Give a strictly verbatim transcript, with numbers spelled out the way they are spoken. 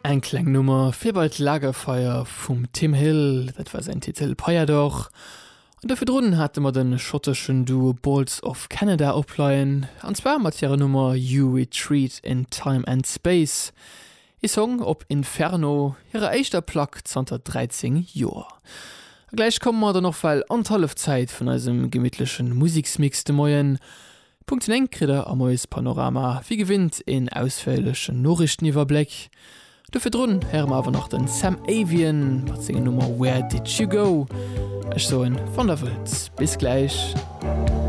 Eng kleng Nummer fir bei d'Lagerfeier vum Tim Hill, dat war säin Titel Payador. An do virdrun hate mer de schotteschen Duo Boards of Canada opleien, an zwar mat hirer Nummer You Retreat in Time and Space, ee Song op Inferno, hirer éischter Plack zanter dräizéng Joer. A gläich komme mer dann och well an d'Hallefzäit vun eisem gemittleche Museksmix de Moien. Punkt néng kritt der am Moiespanorama wéi gewinnt een ausféierlechen Noriichteniwwerbléck. Do virdrun héiere mer awer nach den Sam Avian mat senger Nummer Where Did You Go. Ech soen, wann der wëllt, bis gläich.